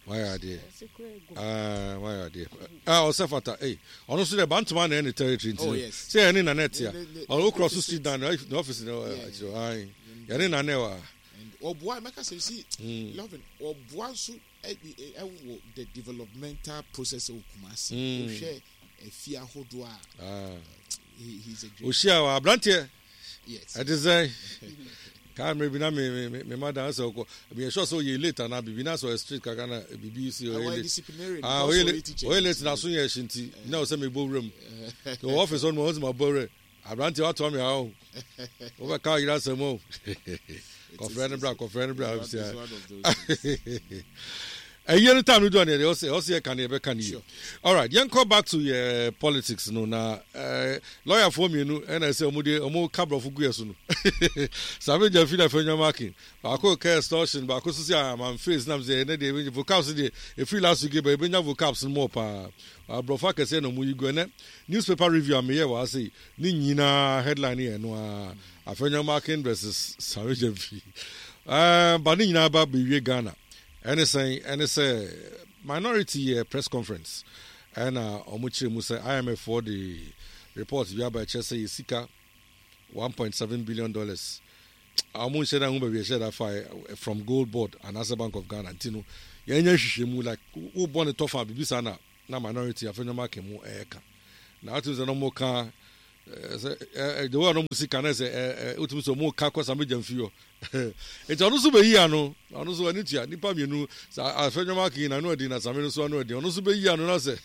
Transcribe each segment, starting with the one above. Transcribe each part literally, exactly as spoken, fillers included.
Wayɛ adeɛ. Ah, wayɛ adeɛ. Ah, ɔsɛ fata. Ei, ɔno nso deɛ Bantama na ɛyɛ ne territory nti Oh, no. yes. Sɛ yɛne Nana ɛte a, Ne- ne- ne- ɔno wokura so opposite. street down ne office no Yeah. akyerɛ. Aye. Yɛne Nana ɛwɔ ha. And ɔboa, mɛka sɛ, you see, Mm. Lovin, ɔboa nso ɛ- ɛ- ɛwɔ the developmental process wɔ Kumasi. Mm. Wohwɛ efi ahodoɔ a, Ah. he he's a great. Ohyia wɔ aberanteɛ. Yes. Ɛte sɛ kaa mmerɛ bi na me me me madam sɛ ɔkɔ, meyɛ sure sɛ ɔyɛ late anaa biribi na sɛ ɔyɛ street kakra na biribi si ɔyɛ Ɔyɛ late. Disciplinary. Ah, because ɔyɛ ɔyɛ late. Teacher. Ɔyɛ late na so yɛ ɛhye nti na ɔsɛ mebɔ wuram nti wɔ office hɔ no ma ɔsɛ mabɔ wuram. Aberanteɛ, watoa me ha o, wobɛka ɔyere asɛm o, kɔfrɛ no bra, kɔfrɛ no bra. It's one of those things. Ɛyɛ no time no du a, neɛ ɔsɛ ɔsɛ yɛka ne yɛbɛka ne yie. Sure. Alright, yɛnkɔ back to yɛ politics no na uh, lawyerfoɔ mmienu ɛna ɛsɛ ɔmo de ɔmo ka borɔfo gu yɛ so no. Sammy Gyamfi na Afenyo Markin, baako ka extortion, baako nso sɛ aman face nam sɛ ɛnɛ deɛ ebɛnya vocabs deɛ efiri last week ba, ebɛnya vocabs no mɔ paa. Aborɔfo akɛseɛ na ɔmo yi gu. Ɛnɛ newspaper review a meyɛ wɔ ha sei ne nyinaa headline yɛ no a Afenyo Markin versus Sammy Gyamfi. ɛɛ ba ne nyinaa ba bɛwie Ghana. Ɛne sɛn? Ɛne sɛ minority yɛ press conference ɛna ɔmo kyerɛ mu sɛ I M F foɔ de report bi aba, ɛkyerɛ sɛ yɛ sika one point seven billion dollars a ɔmo nhyɛ da ho baabi ɛhyɛ da fa ɛ, from Gold Board anaasɛ Bank of Ghana, nti no yɛnyɛ hwehwɛ mu like wobɔ ne tɔfa biribi saa na na minority Afenyo Markin mu ɛɛka na atum sɛ na ɔmo ka ɛɛ sɛ ɛɛ the way a na ɔmo si ka na sɛ ɛɛ ɛɛ wotumi sɛ ɔmo ka kɔ Sammy Gyamfi hɔ, nti ɔno nso bɛyi ano. Ɔno nso ani tua nipa mmienu sa. Afenyo Markin na ano adi na Sammy no nso ano adi. Ɔno nso bɛyi ano na sɛ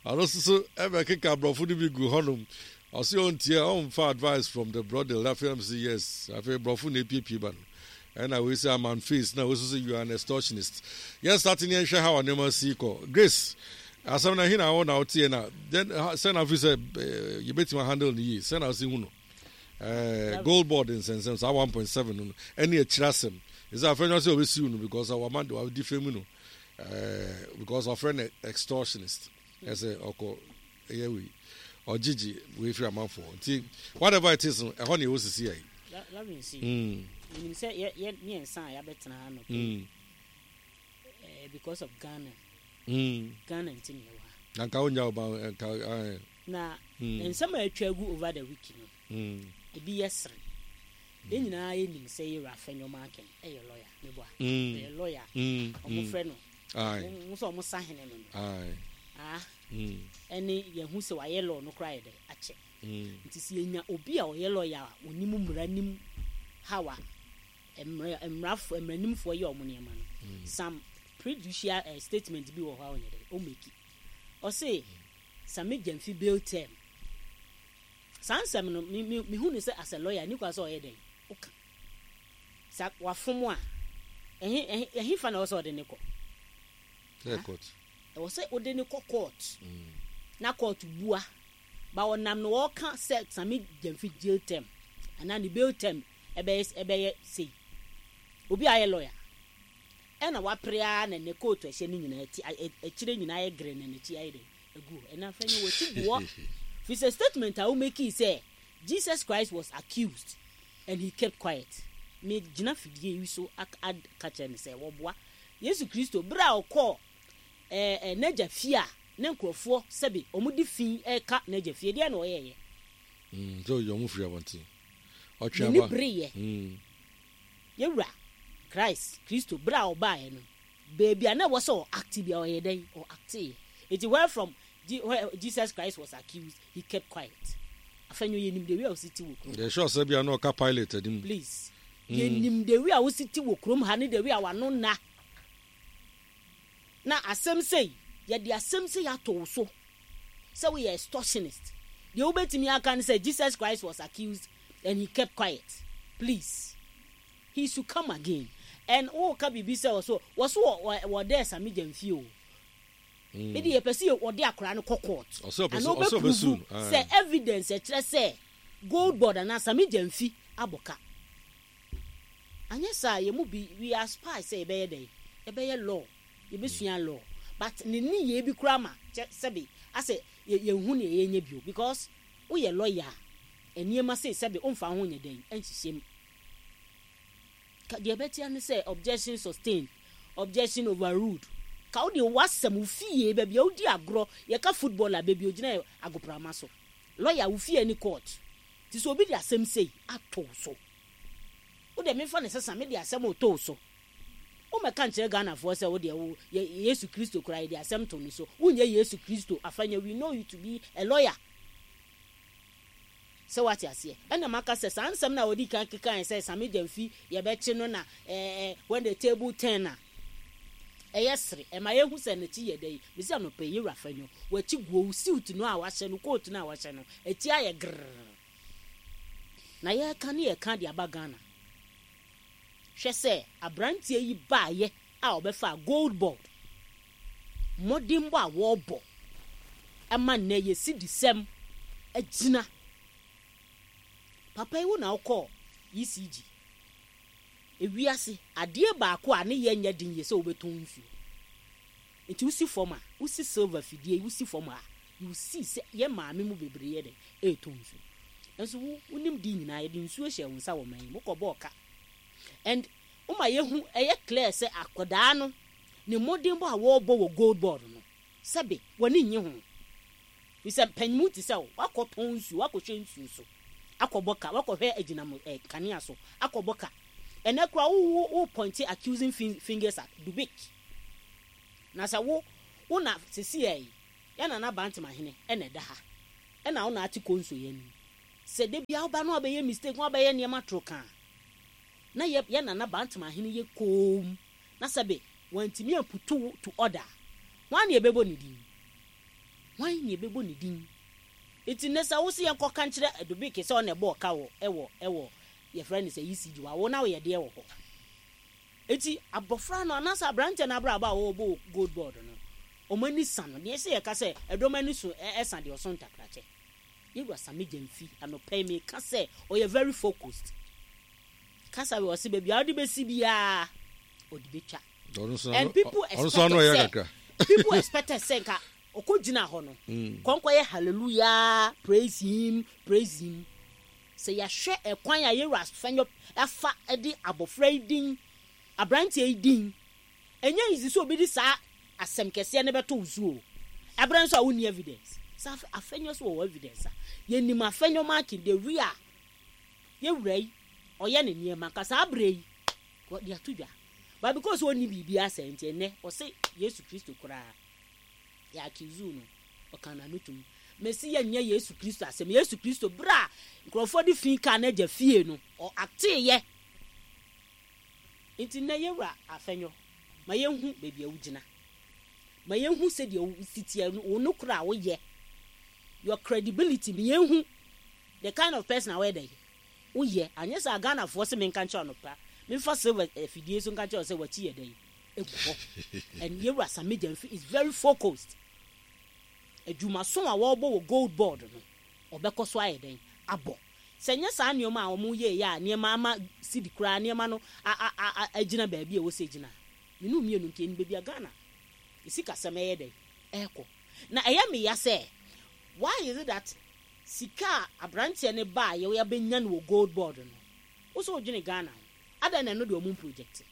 ɔno nso so ɛbɛkeka aborɔfo no bi gu hɔnom. Ɔsi ɔntie, ɔnfa advice from the brother. Afei ɛm sɛ yes, afei borɔfo na epiepie ba no ɛna wei sɛ aman face na wei nso sɛ you are an extortionist. Yɛn start ne yɛnhwɛ how nneɛma si kɔ. Grace, asɛm na hin na wo na woteɛ na then sɛ na afi sɛ ɛɛ yɛbɛtumi handle ne yie, sɛ na ɔsi hu no ɛɛ Gold Board nsɛnsɛm saa one point seven no ɛne akyire asɛm ɛsɛ afɛn sɛ ɔbɛsiw no because wama de wadi fam no ɛɛ because ɔfrɛ no extortionist, ɛsɛ ɔkɔ ɛyɛ wei ɔgyegye wei firi amanfoɔ. Nti whatever it is no, ɛhɔ na ɛwɔ sisi yɛ. Lovin si Mm. menim sɛ yɛ yɛ mmiɛnsa a yɛabɛtena ha no Mm. eh, because of Ghana. Mm. Ghana nti ne yɛwɔ ha. Na nka wonya wo ba nka ɛɛ. Na Mm. nsɛm a atwa agu over the week no, Mm. ebi yɛ sere. Yɛn nyinaa yɛnim sɛ yɛwura Afenyo Markin ɛyɛ lawyer, meboa? Mm. Ɛyɛ lawyer. Mm. Ɔmo Mm. frɛ no Aye. mo sɛ ɔmo sahene no no Aye. Ah, Mm. ɛne yɛhu sɛ wayɛ law no koraa yɛ dɛ akyɛ. Mm. Nti sɛ yɛnya obi a ɔyɛ lawyer a onim mmara, nim how a mmara mmarafo mmaranimfoɔ yɛ ɔmo nneɛma no, some prejudicial uh, statement bi wɔ hɔ a ɔnyɛ dɛ ɔmake. Ɔse Sammy Gyamfi bail term, saa nsɛm no, me me mehu ne sɛ as a lawyer ni kwa sɛ ɔyɛ dɛ ɔka sa wafom a, ɛhe ɛhe ɛhe fa na ɛwɔ sɛ ɔde ne kɔ? Sɛ court. Ɛwɔ sɛ ɔde ne kɔ court Mm. na court bua ba ɔnam no wɔka sɛ Sammy Gyamfi jail term anaa ne bail term ɛbɛyɛ ɛbɛyɛ sei. Obi a ayɛ lawyer ɛna wapere ara na ne coat ɛhyɛ ne nyinaa ti akyire nyinaa yɛ green na n'akyi ayɛ dɛ egu hɔ. Ɛna afɛn wɔ ti gu hɔ fi sɛ statement a womake sɛ Jesus Christ was accused and he kept quiet. Me gyina fidie yi so aka kyerɛ ne sɛ wɔboa Yesu Kristo bere a ɔkɔɔ ɛɛ ɛ n'agya fie a ne nkurɔfoɔ sɛbi wɔn de fi ɛka n'agya fie deɛ na ɔyɛɛyɛ. Mm. Sɛ ɔyɛ ɔmo firi abɔnten. Ɔtwe n'ani aba. bereyɛ. Mm. Yɛwura Christ Kristo bere a ɔbaeɛ no, beebi a na ɛwɔ sɛ ɔact bi a ɔyɛ dɛn ɔacteeɛ. Eti where from Je where Jesus Christ was accused, he kept quiet. Afɛnyo, yɛnim de wi a osi ti wɔ kurom. Yɛ sure sɛ bia na ɔka Pilate anim. Please. Mm. Yɛnim de wi a wosi ti wɔ kurom ha ne de wi a wano na na asɛm sei, yɛde asɛm sei ato wo so sɛ woyɛ extortionist. Deɛ wobɛtumi aka ne sɛ Jesus Christ was accused and he kept quiet. Please, he should come again and woka biribi sɛ wɔ so wɔ so wɔ wɔ dɛ Sammy Gyamfi o. Mm. Mede yɛpɛ sɛ wɔde akwaraa no kɔ court Ɔsɛ ɔpɛ ana sɛ ɔsɛ ɔbɛsu wobɛprove no. Aye. sɛ evidence ɛkyerɛ sɛ Gold Board anaa Sammy Gyamfi abɔ ka. Anyɛ saa, yɛn mu bi, we are spy sɛ yɛbɛyɛ dɛn, yɛbɛyɛ law, yɛbɛsua law, but ne nneyɛɛ bi koraa ma kyɛ sɛbe asɛ yɛnhu nea yɛnyɛ bio because woyɛ lawyer a, nneɛma sei sɛbe womfa ho nyɛ dɛn nhyehyɛ mu. Deɛ ɛbɛtia ne sɛ objection sustained, objection overruled. Ka wo deɛ wasɛm wo fie, baabi a wodi agorɔ, yɛka football a, baabi a ogyina yɛ agoprama so. Lawyer, wo fie ne court. Nti sɛ obi de asɛm sei ato so, wo deɛ memfa ne sesa mede asɛm oto so, womɛka nkyerɛ Ghanafoɔ sɛ wo deɛ wo yɛ Yesu Kristo koraa, yɛde asɛm to ne so. Wonyɛ Yesu Kristo. Afanya, we know you to be a lawyer. Sɛ wate aseɛ, ɛna maka sɛ saa nsɛm no a wɔde kan kekae sɛ Sammy Gyamfi yɛbɛkye no na ɛɛ when the table turn a, ɛyɛ sere ɛma yɛhu sɛ n'akyi yɛ dɛ yi. Mesi anɔpɛ yi, yɛwura Afenyo, w'akyi guo, suit no a wahyɛ no, coat no a wahyɛ no, akyi ayɛ grrr. Na yɛreka ne yɛka de aba Ghana, hwɛ sɛ aberanteɛ yi baayɛ a ɔbɛfa Gold Board, mmɔdenbɔ a wɔrebɔ ɛma nnɛ yɛsi disɛm agyina. Papa yi, wo na wokɔɔ E C G. Ewiase adeɛ baako a ne yɛ nyɛ den yɛ sɛ wobɛtɔn nsuo. Nti wosi fam a wosi silver fidie, wosi fam a, you see sɛ yɛ maame mu bebree yɛ dɛ ɛretɔn nsuo. Nso wo wonim di nyinaa, yɛde nsuo hyɛ wo nsa wɔ man yi mu, wokɔ bɔɔ ka and woma yɛhu ɛyɛ clear sɛ akwadaa no ne mmɔdenbɔ a wɔrebɔ wɔ Gold Board no, sɛbe w'ani nye ho, fisɛ mpanyinmu te sɛ wo wakɔtɔn nsuo, wakɔhwɛ nsuo so akɔbɔ ka, wakɔhwɛ agyinam ɛ kanea so akɔbɔ ka. Ɛnɛ kora wo wo wo point accusing fingers at Dubik. Na sɛ wo wo na sisi yɛ yi, yɛn nana Bantamahene ɛna ɛda ha, ɛna wo na ate konso yɛn anim sɛ de bia woba no abɛyɛ mistake, wɔn abɛyɛ nneɛma toro kan na yɛ yɛn nana Bantamahene yɛ koom na sɛbe wɔntumi amputu to order. Wɔn na yɛbɛbɔ ne din, wɔn na yɛbɛbɔ ne din. Nti ne sɛ wosi yɛn kɔka nkyerɛ Dubik sɛ ɔna ɛbɔ ɔka wɔ ɛwɔ ɛwɔ yɛfrɛ no sɛ E C G wa wo na woyɛ deɛ wɔ hɔ. Eti abɔfra no anaasɛ aberanteɛ no abrabɔ a wɔwɔ Gold Board no, ɔmo ani sa no deɛ ɛsɛ yɛka sɛ ɛdɔm ani so ɛsa deɛ ɔso ntakrakyɛ. Yɛwura Sammy Gyamfi, anɔpɛ yi meka sɛ ɔyɛ very focused. Kasa wɔ ɔse baabi a ɔde bɛsi biara ɔde bɛtwa. And people expected sɛ people expected sɛ nka ɔkɔ gyina hɔ no mm. kɔnkɔ yɛ hallelujah, praise him, praise him. Sɛ yɛahwɛ ɛkwan a yɛwura Afenyo afa de abɔfra yi din, aberanteɛ yi din, ɛnyɛ easy sɛ obi de saa asɛm kɛseɛ no bɛto wo so o. Ɛberɛ nso a wonni evidence sɛ Afenyo so wɔwɔ evidence a, yɛnim Afenyo Markin the way a yɛwura yi ɔyɛ ne nneɛma nka saa berɛ yi wɔde ato dwa, but because ɔnni biribi asɛ nti, ɛnɛ ɔsɛ Yesu Kristo koraa yɛ accuse no, ɔka n'ano tom. Mesi yɛnyɛ Yesu Kristo asɛm. Yesu Kristo, berɛ a nkurɔfoɔ de fi kaa n'agya fie no, ɔ ateeyɛ. Nti nnɛ yɛwura Afenyo, ma yɛnhu baabi a wogyina, ma yɛnhu sɛdeɛ wosi teɛ, wo no kora a woyɛ, your credibility, ma yɛnhu the kind of person a wɔyɛ dɛ woyɛ. Anyɛ sɛ Ghanafoɔ sɛ menka nkyerɛ no pa, memfa silver afidie so nka nkyerɛ sɛ wakyi yɛ dɛ egu hɔ. And yɛwura Sammy Gyamfi is very focused. Adwumaso a wɔrebɔ wɔ Gold Board no, ɔbɛkɔ so ayɛ dɛn abɔ. Sɛ nyɛ saa nneɛma a wɔn yɛ yɛ a, nneɛma ama sidi koraa, nneɛma no a a a agyina baabi a ɛwɔ sɛ gyina mmienu mmienu nti ɛni baabi a Ghana esi kasɛm ɛyɛ dɛn ɛɛkɔ. Na ɛyɛ meya sɛ why is it that sika a aberanteɛ ne ba a yɛwɔ yɛbɛnya no wɔ Gold Board no, wosɛ wodwene Ghana ho adan na ɛno deɛ ɔmo project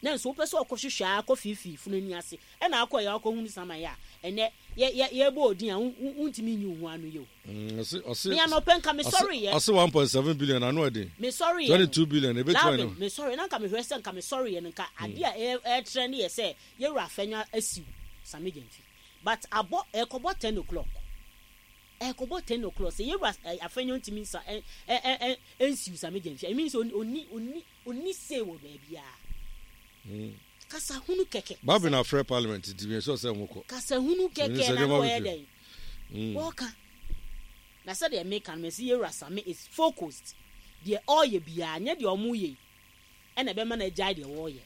na nso wopɛ sɛ ɔkɔhwehwɛ a akɔ fiifii funu ani ase, ɛna akɔ yɛ akɔhunu sama yɛ a, ɛnɛ yɛ yɛ yɛbɔ odin a wontumi nyi wo ho ano yɛ o. Mm, ɔse ɔse Me anɔpɛ nka mesɔre yɛ. Ɔse one point seven billion ano ɛden. Mesɔre yɛ. Twenty two billion ebi tuma no. Mesɔre na nka mehwɛ sɛ nka mesɔre yɛ no, nka adeɛ a ɛɛtrɛ ne yɛ sɛ yɛwura Afenyo asiw Sammy Gyamfi, but abɔ ɛkɔbɔ ten o'clock, ɛkɔbɔ ten o'clock sɛ yɛwura Afenyo ntumi nsa ɛ ɛ ɛ ɛnsiw Sammy Gyamfi. I mean sɛ oni oni oni se wɔ baabiara. Kasa hunu kɛkɛ. Baabi na afrɛ parliament nti mi sɔ sɛ mo kɔ. Kasa hunu kɛkɛ na wɔyɛ dɛ wɔka. Na sɛdeɛ meka no, mɛsi yɛwura Sammy is focused. Deɛ ɔreyɛ biara nyɛ deɛ ɔmo yɛ yi ɛna ɛbɛma no agyae deɛ wɔreyɛ.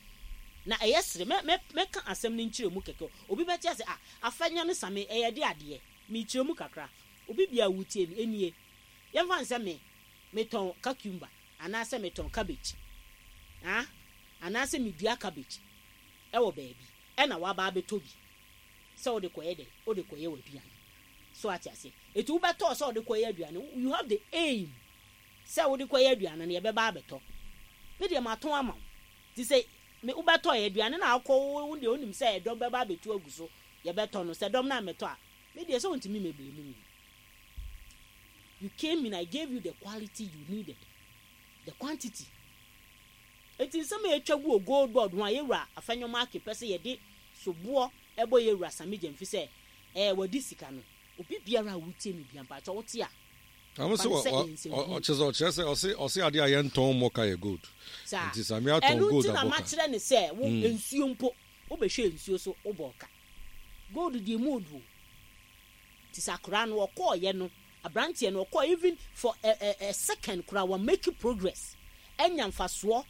Na ɛyɛ sere mɛ mɛ mɛka asɛm no nkyerɛ mu kɛkɛ, obi bɛte ase a Afenyo ne Sammy ɛyɛ de adeɛ mekyerɛ mu kakra. Obi bia wutie mi enie, yɛmfa nsɛ me metɔn cucumber anaasɛ metɔn cabbage, ah, anaasɛ medua cabbage ɛwɔ baabi, ɛna waba abɛtɔ bi sɛ wode kɔyɛ dɛ wode kɔyɛ w'aduane so, ate aseɛ? Eti wobɛtɔɔ sɛ wode kɔyɛ aduane, you have the aim sɛ wode kɔyɛ aduane no, yɛbɛba abɛtɔ. Me deɛ matɔn ama wo, nti sɛ me wobɛtɔ yɛ aduane na akɔ wo deɛ, wonim sɛ ɛdɔm bɛba abɛtu agu so, yɛbɛtɔ no. Sɛ dɔm no amɛtɔ a, me deɛ sɛ wontumi mɛblame me. You came in, I gave you the quality you needed, the quantity. Eti nsɛm a yɛtwa gu wɔ Gold Board ho a yɛwura Afenyo-Markin pɛ sɛ yɛde soboɔ ɛbɔ yɛwura Sammy Gyamfi sɛ ɛɛ wɔde sika no, obi biara a wotie mi bia, mpakyɛ wote a ɔmo sɛ ɔkyerɛ sɛ ɔkyerɛ sɛ ɔse ɔse adeɛ a yɛntɔn mmɔka yɛ gold. Saa. Nti Sammy atɔn ɛno gold nti na abɔka. Makyerɛ ne sɛ wo nsuo mpo, wobɛhwɛ nsuo so, wobɔ ka gold deɛ mu oduo. Nti sɛ akwaraa no ɔkɔɔyɛ no, aberanteɛ no ɔkɔɔ, even for a, a, a second koraa wa make progress, ɛnya mfasoɔ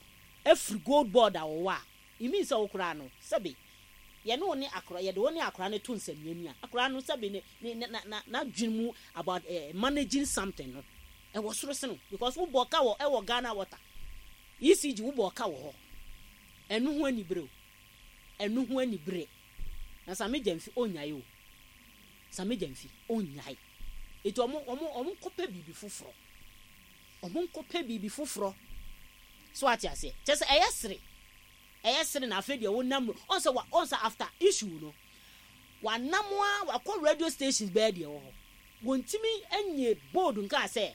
afiri Gold Board a wɔwɔ a, it means sɛ wo koraa no, sɛbe, yɛne wo ne akora, yɛde wo ne akora no to nsɛmmiani a, akora no, sɛbe, ne ne na na n'adwene mu about uh, managing something no ɛwɔ soro sene, because wobɔ ka wɔ ɛwɔ Ghana Water, E C G, wobɔ ka wɔ hɔ. Ɛno ho anibere o, ɛno ho anibere na Sammy Gyamfi ɔnyae o. Sammy Gyamfi ɔnyae. Eti ɔmo ɔmo ɔmo nkɔpɛ biribi foforɔ, ɔmo nkɔpɛ biribi foforɔ so, ate aseɛ? Kyɛ sɛ ɛyɛ sere, ɛyɛ sere. Na afei deɛ wonam ɔnsɛ wa ɔnsɛ after issue no, wanam a wakɔ radio stations bɛyɛ deɛ wɔ hɔ, wɔntumi nye bold nkaa sɛ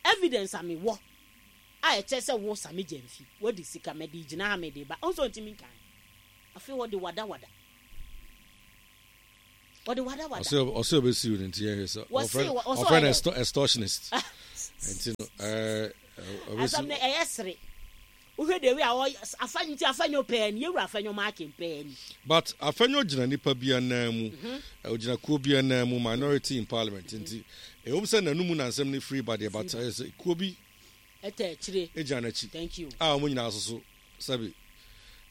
evidence a mewɔ a ɛkyɛ sɛ wo Sammy Gyamfi wadi sika, mɛde gyina ha, mɛde ba ɔnsɛ ɔntumi nkan. Afei wɔde wadawada, wɔde wadawada. ɔsɛ ɔsɛ ɔbɛsi wo no, nti yɛhwɛ sɛ Wɔse ɔfrɛ wɔ- ɔsɛ ɔfrɛ no ɔyɛ dɛ? extor- extortionist nti no ɛɛ Asɛm no ɔbɛsi. Ɛyɛ sere. Wohwɛ de wi a ɔyɛ afa nti Afenyo pɛɛ ni, yɛwura Afenyo-Markin pɛɛ ni. But Afenyo gyina nipa bi anan mu, Mhm. ɔgyina kuo bi anan mu, minority in parliament, nti ɛwom sɛ n'anum na nsɛm no firi ba deɛ, but ɛyɛ sɛ kuo bi ɛtɛ akyire gyina n'akyi Thank you. a wɔn nyinaa soso sɛbi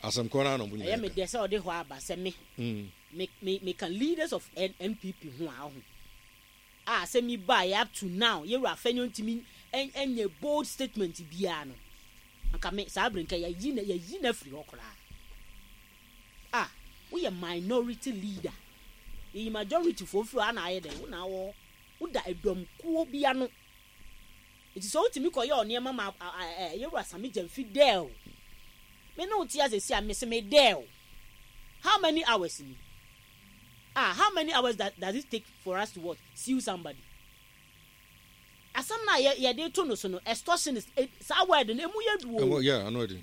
asɛm korɔ no a na wɔn Ɛyɛ nyinaa me ka. deɛ sɛ ɔde hɔ aba sɛ me Mm. me me meka leaders of N NPP ho a, ɔho a sɛ mi ba yɛ up to now yɛwura Afenyo ntumi ɛn ɛnyɛ bold statement biara no, anka me saa abiri nka yɛyi na yɛyi na firi hɔ koraa a woyɛ minority leader, yɛyi majority foɔ firi hɔ ana ayɛ dɛ wo na awɔ woda ɛdɔm kuo bi ano. Nti sɛ wotumi kɔyɛ ɔnneɛma ma a- a- ɛ yɛwura Sammy Gyamfi dɛ o, me ne wo te ase si a, me se me dɛ o, how many hours ni ah how many hours does, does it take for us to what, sue somebody? Asɛm na yɛ yɛde to no so no, extortionist, eh, saa word no emu yɛ du o. Ɛwɔ yeah, ano ɛdi.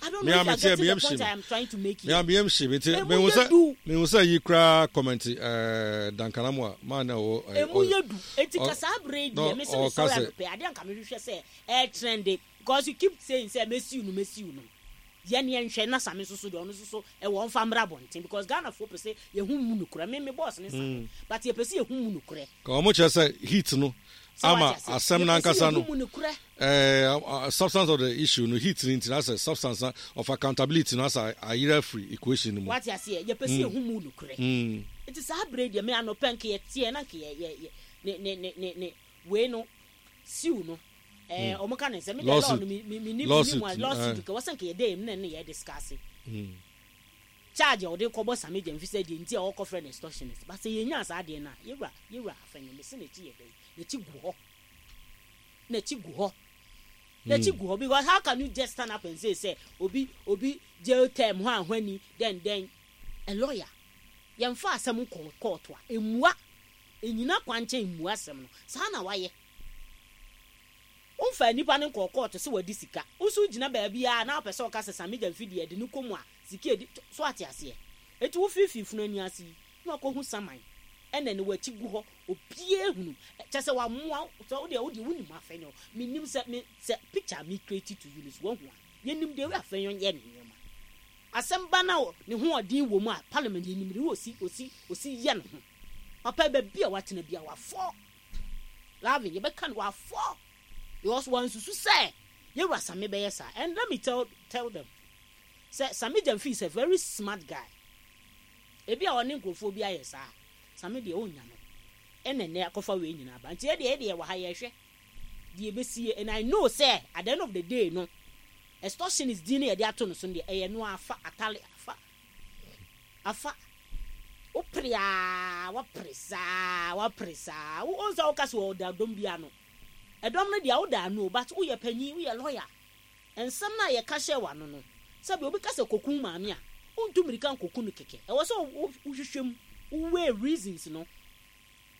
I don't Me know a if you me are tie, getting me the am point shame. I am trying to make Me here. a me yam hye me nti Emu mehu yɛ sɛ du. mehu sɛ yi koraa comment ɛɛ Duncan Amoah maa na ɔwɔ ɛɛ Emu ɔ yɛ du. Eti ɔ ka saa abere yi na deɛ, me se me ɔka sɔrɔ sɛ anɔpɛ adeɛ anka mehwehwɛ sɛ ɛɛ trend, because you keep saying sɛ mesiw no, mesiw no. Yɛn yɛn hwɛ na Sammy soso deɛ, ɔno soso ɛwɔ ɔnfa mmra abɔnten, because Ghana fo pɛ sɛ yɛhu mu nukurɛ. Me me boss ne Sammy, but yɛpɛ sɛ yɛhu mu nukurɛ. Ka wɔn kyerɛ sɛ heat no Sɛ ama wate ase, asɛm yɛpɛ sɛ n'ankasa no yɛhu mu nukurɛ. ɛɛ substance of the issue no, heat no nti na sɛ substance na of accountability no asa ayerɛ afiri equation no mu. Wate aseɛ? Yɛpɛ sɛ yɛhu mu nukurɛ. Mm. Nti saa abere deɛ, me anɔpɛ nka yɛteɛ na nka yɛ yɛ yɛ ne ne ne ne ne wei no siw no, ɛɛ ɔmo ka ne nsɛm mi deɛ law Lawsuit. no, mi mi mi ni mi ni Lawsuit, mu a lawsuit eh. nka wɔsɛ nka yɛde mu na ne yɛ discuss Mm. charge a ɔde kɔbɔ Sammy Gyamfi sɛ deɛ nti a ɔkɔfrɛ no extortionist. But sɛ yɛnya saa adeɛ no a, yɛwura yɛwura Afenyo, mesi n'akyi yɛ dɛ, n'akyi gu hɔ, n'akyi gu hɔ, n'akyi gu hɔ, because how can you just stand up and say sɛ obi obi jail term hɔ ahwani then then a lawyer yɛmfa asɛm kɔ court a emua enyina kwankyɛn emua asɛm no saa na wayɛ. Womfa nipa no nkɔ court sɛ wadi sika, woso gyina baabi a na wopɛ sɛ ɔka sɛ Sammy Gyamfi deɛ de ne kɔ mu a sika edi so, ate aseɛ? Eti wofiifii funu ani ase yi na wakɔhu saman ɛna ne wakyi gu hɔ, obiara hunu kyɛ sɛ wamoa sɛ wodeɛ wodeɛ wonim Afenyo. Menim sɛ me sɛ picture me create to you no so wahu a, yɛnim deɛ Afenyo yɛ ne nneɛma. Asɛm ba na ne ho ɔden wɔ mu a, parliament yɛnim de osi osi osi yɛ ne ho papa. Baabi a watena bi a wafɔ lavin, yɛbɛka no wafɔ, because wansusu sɛ yɛwura Sammy bɛyɛ saa. And let me tell tell them sɛ Sammy Gyamfi is a very smart guy. Ebi a ɔne nkurɔfoɔ bi ayɛ saa, Sammy deɛ ɔnya no ɛna ɛnɛ akɔfa wei nyinaa ba. Nti ɛdeɛ ɛdeɛ wɔ ha, yɛhwɛ deɛ ɛbɛsie, and I know sɛ at the end of the day no, extortionist din no yɛde ato no so no deɛ, ɛyɛ no afa atale afa afa wopere a wapere saa, wapere saa wo sɛ woka sɛ ɔda dɔm bi ano, ɛdɔm no deɛ woda ano, but woyɛ panyin, woyɛ lawyer. Nsɛm no a yɛka hyɛ w'ano no, sɛbi, obi ka sɛ kokum maame a, wontu mmirika nkoku no kɛkɛ. Ɛwɔ sɛ wohwehwɛ mu, woweigh reasons no,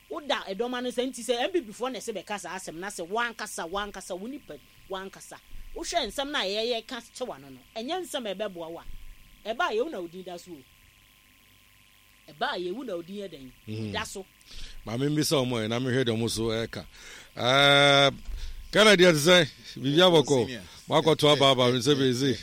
woda ɛdɔm ano sɛ nti sɛ N P P foɔ na ɛsɛ bɛka saa asɛm na sɛ wankasa wankasa wo nipa wankasa wohwɛ nsɛm no a yɛyɛ ka kyɛ w'ano no, ɛnyɛ nsɛm a ɛbɛboa wo a ɛba a yɛwu na wo din da so o. Ɛba a yɛwu na wo din yɛ dɛn Mm. da so. Maame, mbisa ɔmo ɛ na mehwɛ deɛ ɔmo so ɛka. Ɛɛ, Kennedy, ɛte sɛ biribi abɔkɔ makɔto aba aba me sɛ bɛse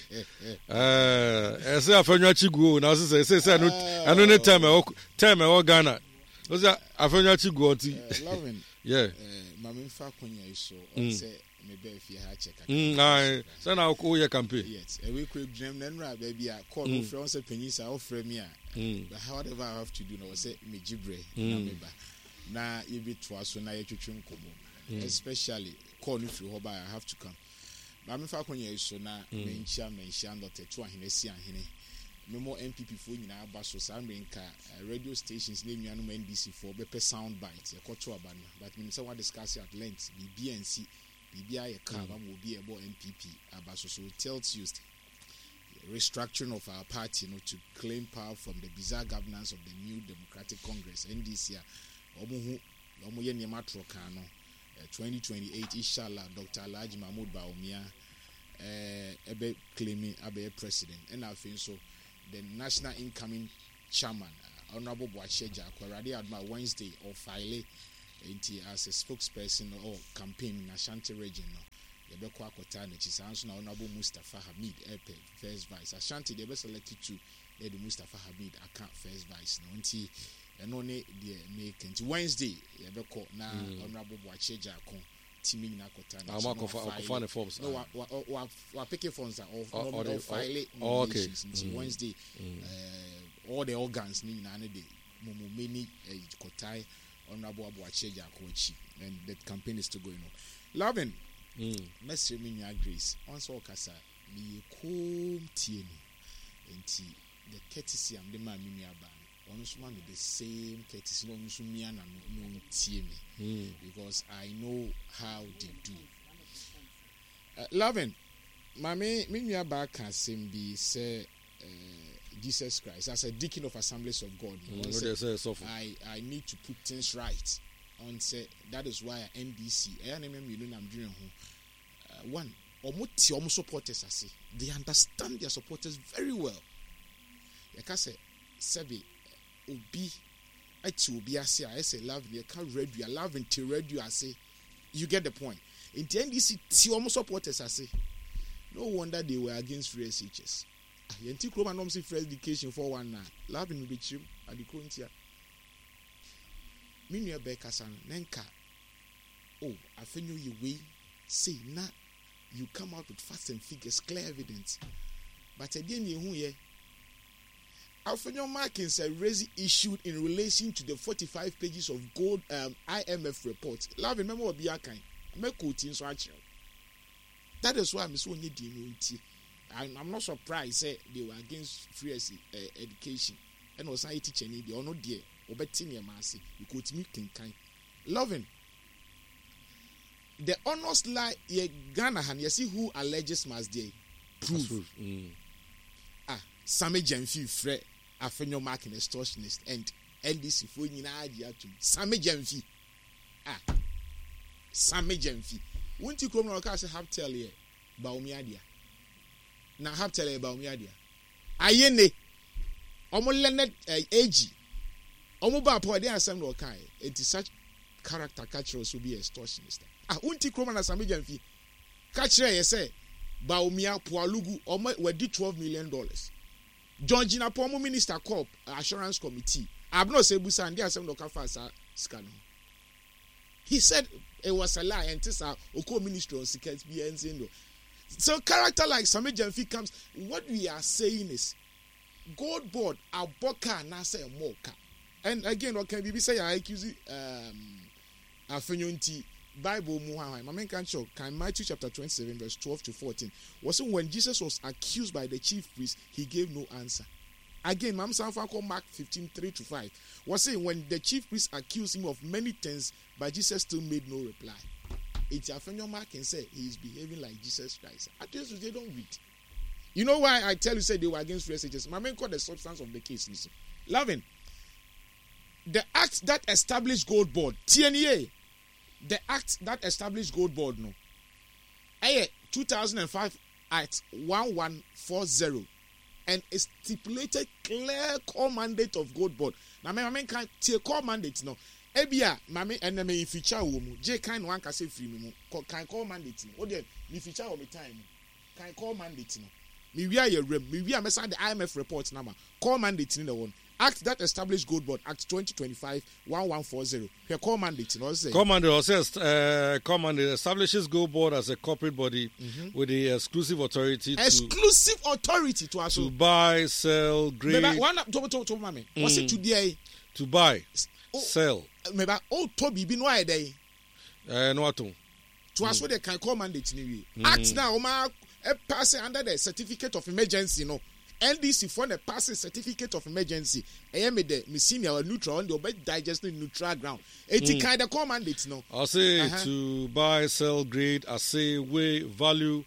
ɛɛ ɛsɛ Afenyo akyi gu o, na sɛ sɛ sɛ ɛno ɛno ne term ɛwɔ term ɛwɔ Ghana o, sɛ Afenyo akyi gu ɔnti. Lovin, yeah maame, nfa akonya yi so Mm. ɔsɛ mebɛɛ fie ha kyɛ kakra. mm ayi sɛ na woyɛ campaign. Yes, ɛwei kura gyina mu na nnura baabi a call no Mm. wofrɛ wɔn sɛ panyin saa wofrɛ mi a, mm whatever I have to do na wɔsɛ megye brɛ na Mm. meba na yɛbɛtoa so na yɛtwetwe nkɔmmɔ, Mm. especially call no firi hɔ ba, I have to come. Maame, fa akonya yi so na Mm. menkyia manhyia ndɔtɛ ahene si ahene memmɔ N P P foɔ nyinaa aba so. Saa mmerɛ nka eh, radio stations ne nnuanom N D C foɔ bɛpɛ sound bite yɛkɔto aba no, but menim sɛ wadiscuss at length, biribi ansi, biribi ayɛ calm ama obi a ɛbɔ N P P aba so. So till Tuesday, restructuring of our party no, to claim power from the bizarre governance of the New Democratic Congress, N D C, a wɔn ho wɔn yɛ nneɛma atorɔ kan no. eh, twenty twenty-eight, inshallah, Doctor Alhaji Mahmood Bawumia ɛɛ ɛbɛ claim abɛyɛ president. Ɛna afei nso the national incoming chairman, uh, Honourable Boakye Agyarko, Awurade adom a, Wednesday ɔfile. Nti as a spokesperson or campaign in Ashanti Region no, yɛbɛkɔ akɔtaa n'akyi. Saa nso na Honourable Mustapha Hamid ɛpɛ first vice. Ashanti deɛ, ɛbɛ select two na yɛde Mustapha Hamid aka first vice no. Nti ɛno ne deɛ meka. Nti Wednesday yɛbɛkɔ na Mm. Honourable Boakye Agyarko timi nyinaa akɔtaa Ah, n'akyi ɔmo na akɔfa wafile. akɔfa ne forms. No, wa wa wa wa pick forms a Ɔ- ɔde- ɔ file oh, okay. nominations. Nti Mm. Wednesday, Mm. uh, all the organs ne nyinaa ne de momomeni uh, kɔtae Honourable Aboakye Agyarko akyi, and the campaign is still going on. Lovin, Mm. mɛsrɛ me nua Grace, ɔn sɛ ɔkasa, meyɛ koom tie no. Nti the courtesy a mede maa me nua baa no, ɔno nso ma me the same courtesy na ɔno nso mia n'ano na ɔntie me, Mm. because I know how they do. Uh, Lovin, maame, me nua baa ka asɛm bi sɛ uh, Jesus Christ, as a deacon of Assemblies of God, Mm. ɔn Wo sɛ deɛ sɛ sɔfo. I I need to put things right. On say that is why N D C ɛyɛ na mmienu nam dwene ho. Uh, one, ɔmo te ɔmo supporters ase. They understand their supporters very well. Yɛka sɛ sɛbi obi ɛte obi ase a, ɛsɛ love yɛka radio a, love te radio ase. You get the point. Nti N D C te ɔmo supporters ase. No wonder they were against free S H S. Ah, yɛn ti kurom anam sɛ free education for one na love no bɛkyerɛ mu adekoro ntia. Me nua bɛɛ kasa no ne nka oh, Afenyo yɛ wei sei na you come out with facts and figures, clear evidence, but ɛdeɛ ne ehu yɛ Afenyo Markins raised issued in relation to the forty-five pages of gold um, I M F report. Lovin, mɛmɛ wɔ bi akan mɛ nso akyerɛw. That is why mɛ sɛ onye di no nti I'm, I'm not surprised say they were against free uh, education. Ɛna ɔsan yɛ teacher ni deɛ, ɔno deɛ ɔbɛte nneɛma ase because otumi kenkan. Lovin, the honest lie yɛ Ghana ha no, yɛsi who alleges must dey prove. Mm. Ah, Sammy Gyamfi frɛ Afenyo Markin extortionist and N D C fo nyinaa gye atum. Sammy Gyamfi, ah, Sammy Gyamfi wunti kurom na ɔka sɛ Hubtel yɛ Bawumia dea, na Hubtel yɛ Bawumia dea. Aye, ne ɔmo learned ɛɛ A G ɔmo ba apɔ ɛde asɛm na ɔka yɛ. Eti such character ka kyerɛ so bi extortionist. Ah, wunti kurom na Sammy Gyamfi ka kyerɛ yɛ sɛ Bawumia Pualugu ɔmo wadi twelve million dollars. John Jinapor, ɔmo minister corp assurance committee abena ɔsɛ ebusa ndi asɛm na ɔka fa saa sika no. He said it was a lie. Ɛnti saa okɔ ministry on sika bi ɛnti no. So character like Sammy Gyamfi comes, what we are saying is Gold Board abɔ kaa anaasɛ ɛmɔ ka. And again, ɔka biribi sɛ yɛ accuse um, Afenyo. Nti Bible mu hwan hwan maame nka nkyɛw kan Matthew chapter twenty-seven verse twelve to fourteen wɔsɛ when Jesus was accused by the chief priest, he gave no answer. Again, maame sanfa kɔ Mark fifteen three to five wɔsɛ when the chief priest accused him of many things, but Jesus still made no reply. Eti Afenyo Markin sɛ he is behaving like Jesus Christ. At least they don't read. You know why I tell you say they were against free S H S? Ma menkɔ the substance of the case ni so. Loving, the act that established Gold Board, T N E A, the act that established Gold Board no, ɛyɛ two thousand five Act one one four zero and it stipulated clear core mandate of Gold Board. Na me maame nka tie core mandate no. Ebia maame ɛnna me feature wɔ mu. Gye kan no ankasa firi mi mu. Kɔ kan core mandate no. O deɛ, me feature wɔ me time mu. Kan core mandate no. Me wia yɛ rem. Me wia mɛsan de I M F report na ma. Core mandate ni na wɔn. Act that established Gold Board, Act twenty twenty-five one one four zero. Hwɛ core mandate no, ɔsɛ. Core mandate ɔsɛ uh, core mandate establishes Gold Board as a corporate body mm-hmm. with the exclusive authority to exclusive authority to aso to buy, sell, grade. Meba one to to to mami. Mm. Wɔsi to deɛ. To buy, oh, sell. Meba o tɔ biribi no ayɛ dɛ. Ɛɛ no ato. To aso de kan core mandate ni wie. Mm. Act na wɔn a pass under the certificate of emergency no. N D C foɔ na pass certificate of emergency. Ɛyɛ mi dɛ mi senior neutral, ɔn de ɔbɛ digest ne neutral ground eti mm. Kan the core mandate no. Ɔse uh -huh. to buy, sell, grade, assay, weigh, value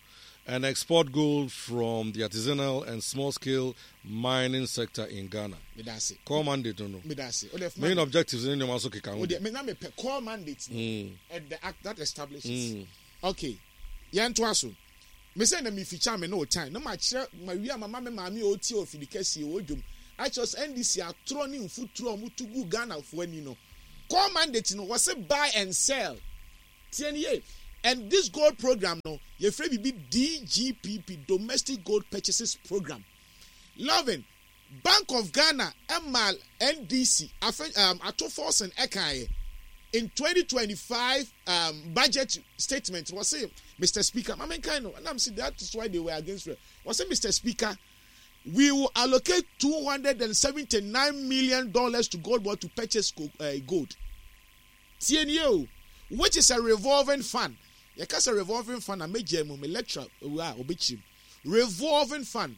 and export gold from the artisanal and small scale mining sector in Ghana. Medase. Core mandate no no. Medase. Main objectives ne nneɛma so keka ho. O de me na me pɛ core mandate no. Mm. And the act that establishes. Mm. Okay. Yɛn to aso. Me sɛ na me feature me no time na ma kyerɛ ma wi ama ma me maame a ɔtie ofidi kɛseɛ wɔ dwom akyerɛ sɛ N D C atorɔ ne mfuturo a wɔto gu Ghanafoɔ ani no. Core mandate no, wɔse buy and sell. Tie ne yie. And this gold program no, yɛfrɛ biribi D G P P, Domestic Gold Purchases Program. Loving, Bank of Ghana ɛma N D C afe um, Ato Forson ɛkaeɛ in twenty twenty-five um, budget statement, wɔse, "Mister Speaker," maame nkan no ɛnam si, that is why they were against it. Wɔse, "Mister Speaker, we will allocate two hundred and seventy-nine million dollars to Gold Board to purchase uh, gold." Tie nie o, which is a revolving fund. Yɛka sɛ revolving fund a, megya mu me lecture ewu a obɛkyim revolving fund.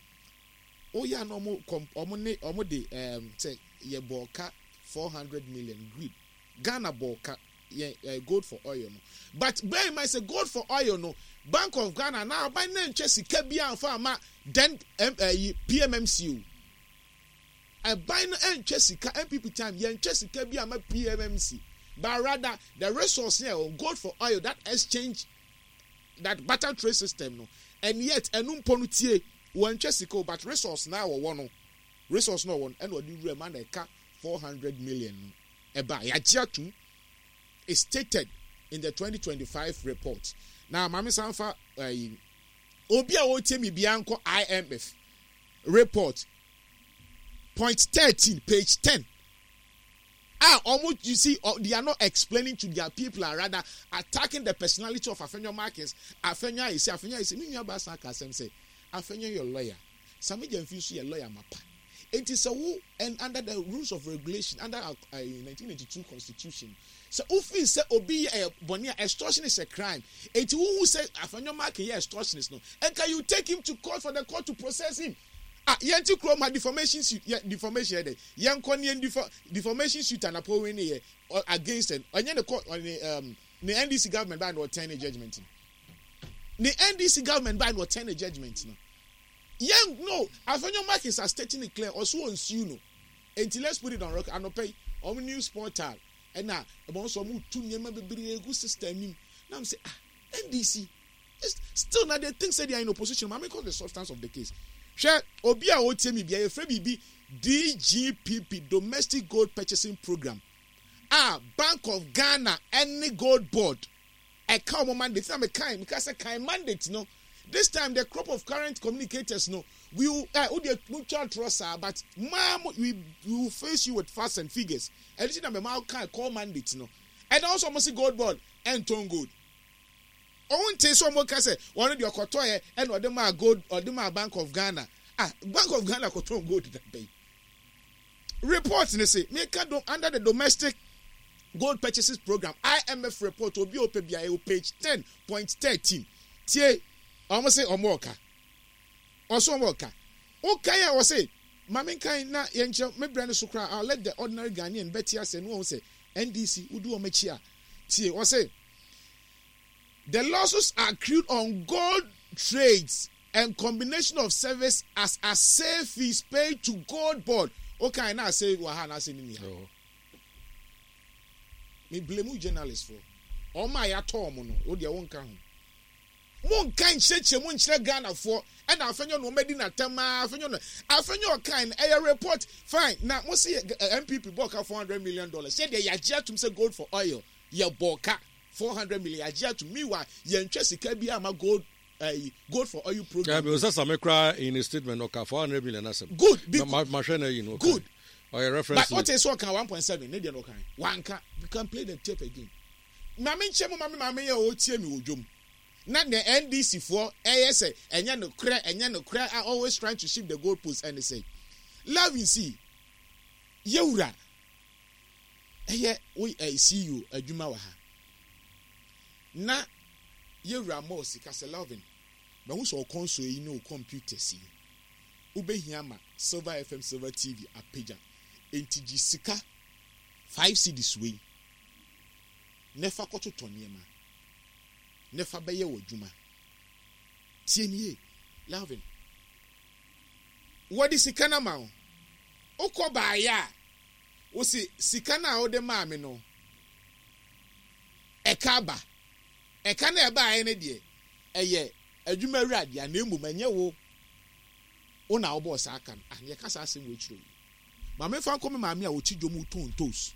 Oyɛ a na ɔmo kɔm ɔmo ne ɔmo de ɛɛm sɛ yɛ bɔ ɔka four hundred million greed. Ghana bɔ ɔka yɛ ɛ gold for oil no, but bear in mind sɛ gold for oil no, Bank of Ghana na aban na ntwa sika bi anfa ama then ɛm ɛyi P M M C o. Ɛban no ntwa sika, N P P time yɛntwa sika bi ama P M M C, but rather the resource here, gold for oil, that exchange, that barter trade system no. And yet ɛnu mpo no, tie, wɔntwa sika o, but resource na wɔwɔ no, resource na wɔwɔ no, ɛna ɔde wura mu ana ɛka four hundred million no ɛba yagye atum. Is stated in the twenty twenty-five report. Na maame sanfa ɛyi obi a wɔretie mi bia nkɔ I M F report point thirteen, page ten. Ah, almost, you see, uh, they are not explaining to their people and rather attacking the personality of Afenyo Markins. Afenyo Ayisi, Afenyo Ayisi, mi nua baasa aka asɛm sɛ Afenyo yɛ lawyer, Sami Gyamfi nso yɛ lawyer mapa. Enti sɛ wo and under the rules of regulation under uh, nineteen ninety-two constitution, sɛ wofi sɛ obi yɛ uh, bɔnne a, extortion is a crime. Enti wohu sɛ Afenyo Markin yɛ extortionist no, ɛnka you take him to court for the court to process him. Ah, yɛn ti kurom ha, defamation suit yɛ defamation yɛ dɛ yɛn kɔ ne yɛn defa defamation suit anapɔ wei ne yɛ against ɛ ɔnyɛ ne court ɔne um, ne N D C government baa na ɔtɛn ne judgement no, ne N D C government baa na ɔtɛn ne judgement no. Yɛn no, Afenyo Markins are stating it clear, ɔso wɔn sue no. Enti let's put it on record. Anɔpɛ yi ɔmo news portal ɛna ɛbɛn nso ɔmo tu nneɛma bebree gu system nim na mo sɛ, ah, N D C still na they think say they are in opposition. Maame, cause the substance of the case, hwɛ, obi a ɔtie mi bia, yɛfrɛ biribi D G P P, Domestic Gold Purchasing Program, a Bank of Ghana ɛne Gold Board ɛka wɔn mandate. Na mekan meka sɛ kan mandate no. This time the crop of current communicators no, we will ɛ o de mo twa atorɔ saa, but maa mo we we will face you with facts and figures. Ɛno ti na mɛ maa kan core mandate no. Ɛna ɔsɔ mo si Gold Board ɛntɔn gold. Ɔmo nte sɛ ɔmo ka sɛ wɔn deɛ ɔkɔtɔ yɛ ɛna ɔde maa gold, ɔde maa Bank of Ghana. Ah, Bank of Ghana kɔtɔn gold da bɛyi? Report ne se meka do under the Domestic Gold Purchases Program, I M F report, obi a ɔpɛ bia ɛwɔ page ten point thirteen. Tie, ɔmo se ɔmo ɔka ɔso ɔmo ɔka ɔkan a ɔse maame nkan na yɛnkyerɛ me brɛ no so koraa. I'll let the ordinary Ghanaian bɛte ase no wɔn sɛ N D C wodi wɔn akyi a. Tie, ɔse The losses are accrued on gold trades and combination of service as assay fees paid to Gold Board. Okay, na assay wɔ ha na assay ni ha. Me blame journalists for. Ɔmo a yɛatɔ ɔmo no, o deɛ wɔnka ho. Monka nkyerɛkyerɛ mu nkyerɛ Ghanafoɔ. Ɛna Afenyo no ɔmɛdi n'atɛm aa. Afenyo no, Afenyo ɔkan no ɛyɛ report fine. Na mo si N P P bɔɔ ka four hundred million dollars. Sɛdeɛ yɛagye atum sɛ gold for oil yɛ bɔɔ ka four hundred million, yɛagye atum. Meanwhile, yɛntwa sika bi ama gold uh, gold for oil program. Yeah, because Sammy kra in a statement ɔka four hundred million asɛm. Good. Ma ma hwɛ na yi no. Good. Ɔyɛ reference. But what is ɔka one point seven ne deɛ no ɔka wanka. You can play the tape again. Maame nkyɛn mu, maame maame yɛ ɔtie mi wɔ dwom na the N D C foɔ ɛyɛ sɛ ɛnyɛ no korɛ, ɛnyɛ no korɛ, are always trying to shift the goal post. Ɛne sɛ love you see, yɛwura ɛyɛ wo ɛyɛ C E O adwuma wɔ ha na yɛwura mɔɔ sika sɛ, "Lovin, mahu sɛ ɔkɔnso yi ne o computers yi wobɛhia ma Silver F M, Silver T V apagya, enti gye sika five cedis wei ne fa kɔtotɔ nneɛma ne fa bɛyɛ wɔ adwuma." Tie nie, Lovin, wɔde sika no ma wo, wokɔ baayɛ a wosi sika no a wode maa me no ɛka aba. Ɛka no ɛbaayɛ no deɛ, ɛyɛ adwuma wura deɛ, na mmom ɛnyɛ wo wo na wobɔɔ saa ka no. Ah, yɛka saa asɛm wɔ akyire yi. Maame, fa nkɔ me maame a ɔte dwom tɔn toast,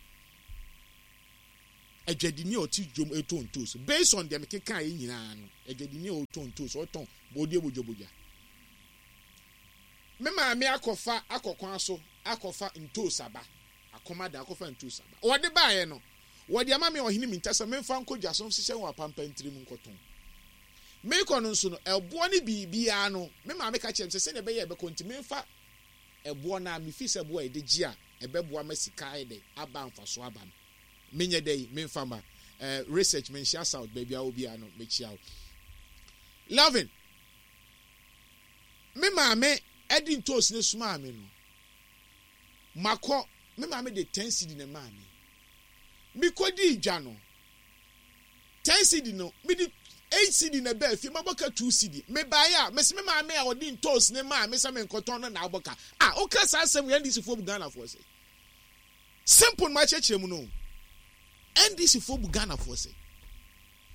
adwadini a ɔte dwom tɔn toast. Based on deɛ mekeka yɛ nyinaa no, adwadini a ɔtɔn toast, ɔtɔn bɔdeɛ bodwabodwa, me maame akɔfa akɔ kwan so akɔfa ntoos aba, akɔma da akɔfa ntoos aba. Wɔde baayɛ no, wɔde ama me ɔhene mi nta sɛ memfa nkɔ dwa so nhyehyɛ wɔ apampantiri mu nkɔtɔn. Mekɔ no nso no, ɛboɔ ne biribiara no, me maame ka kyerɛ me sɛ sɛdeɛ ɛbɛyɛ ɛbɛkɔ nti, memfa ɛboɔ no a mefi sɛ ɛboɔ a yɛde gye a ɛbɛboa ma sika ayɛ dɛ aba, mfaso aba no, menyɛ dɛ yi memfa ma ɛɛ research. Menhyia South baabi a obiara no, mekyia wo, Lovin. Me maame ɛde ntoos ne somaa me no, makɔ, me maame de ten cedi na maa me. Mekɔdi dwa no, ten cedi no, mede eight cedi na ɛbɛɛ fie, mabɔ ka two cedi. Mebaeɛ a, mesi me maame a ɔde ntoos ne maa me sɛ menkɔtɔn no na abɔ ka a woka saa asɛm yɛ. N D C foɔ bu Ghanafoɔ sɛ simple no, makyerɛkyerɛ mu no, N D C foɔ bu Ghanafoɔ sɛ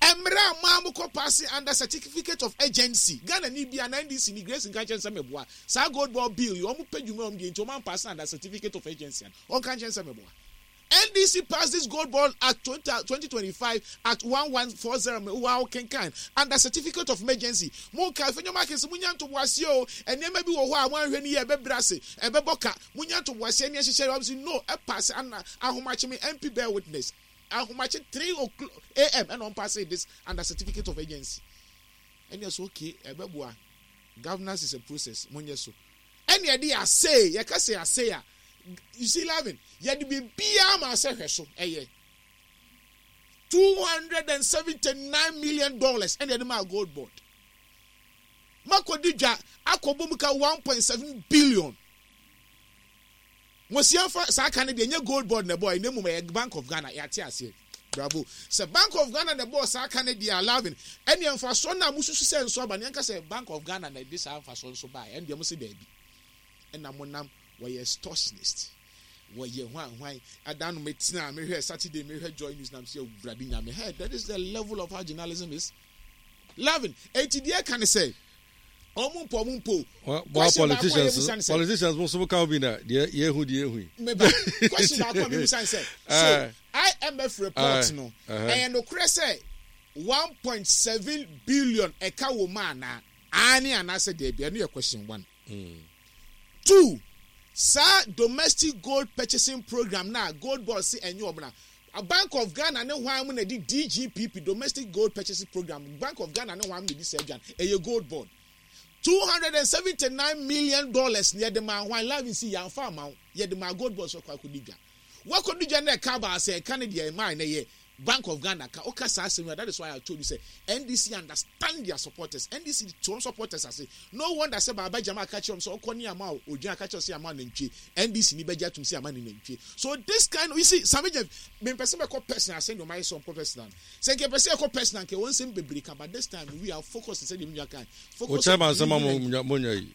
mmerɛ a maa mokɔ pass under certificate of urgency, Ghana ni bi a na N D C ni Grace nka nkyɛn sɛ meboa saa Gold Board bill yi, ɔmo pɛ dwuma ɔmo deɛ nti ɔmo ampass under certificate of urgency a ɔnka nkyɛn sɛ meboa. N D C passed this Gold Board at twenty twenty-five at eleven forty wow kenkan under certificate of emergency. Mo nka Afenyo Markin mo nya ntoboaseɛ o, nneɛma bi wɔ hɔ a mo ahwɛ ni yɛ ɛbɛbrɛ ase, ɛbɛbɔ ka, mo nya ntoboaseɛ ne ɛhyehyɛ. Wɔn si no ɛpass ana ahomakye, me M P bear witness, ahomakye three o'clock a m ɛna wɔn pass this under certificate of urgency. Ɛna so okay, ɛbɛboa. Governance is a process, mo nyɛ so. Ɛna yɛde ase, yɛka sɛ ase a, you see, Lovin, yɛde biribiara ma asɛ hwɛ so, ɛyɛ two hundred and seventy nine million dollars ɛna yɛde maa Gold Board. Makɔdi dwa akɔbɔ mu ka one point seven billion. Wɔsi saa ka no deɛ, nyɛ Gold Board na ɛbɔ, ɛna mu ɛyɛ Bank of Ghana. Yɛate aseɛ, bravo. Sɛ Bank of Ghana na ɛbɔ saa ka no deɛ, Lovin, ɛne mfasoɔ no a mususu sɛ nso aba ne yɛnka sɛ Bank of Ghana na ɛde saa mfasoɔ nso baa, ɛne deɛ mo si daabi, ɛna mo nam wɔyɛ extortionist, wɔyɛ hwan hwan. Adan no metena mehwɛ Saturday, mehwɛ Joy News nam sɛ Awurade Nyame, hey, that is the level of how journalism is, Lovin. Eti deɛ ka ne sɛ ɔmo mpo ɔmo mpo. Well, politicians politicians mo so ka bi na deɛ yɛhu deɛ yɛhu yi. Meba, question baako a mebusa ne sɛ, so I M F report no, ɛyɛ nokorɛ sɛ one point seven billion ɛka wɔ mu anaa aane anaasɛ deɛ ɛno yɛ question one. Mm. Two, saa domestic gold purchasing program na Gold Board si ɛnyɛ ɔmo na Bank of Ghana ne hwan mu na di D G P P, domestic gold purchasing program, Bank of Ghana ne hwan mu na di saa adwan? Ɛyɛ Gold Board. Two hundred and seventy nine million dollars na yɛde maa hwan, Lovin? Si yɛnfa ama wo, yɛde maa Gold Board so kɔ akɔdi dwa. Wakɔdi dwa na ɛka baasa, ɛka ne deɛ ɛmaa na yɛ Bank of Ghana ka ɔka saa asɛm yi. That is why I told you say N D C understand their supporters. N D C to supporters ase. No wonder sɛ Baaba Jama aka kyerɛ wɔn sɛ ɔkɔ ne ama odwan aka kyerɛ sɛ ama nantwie, N D C ni bɛgye atum sɛ ama ne nantwie. So this kind of, you see, Sammy Gyamfi, mempɛ sɛ mɛkɔ personal sɛ deɛ ɔmayɛ sɛ ɔnkɔ personal, sɛ nkɛ pɛ sɛ ɛkɔ personal nkɛ wɔn nsɛm bebree ka, but this time we are focused sɛ deɛ mi nua kan focus. O chairman sɛ ma mo mo nya yi.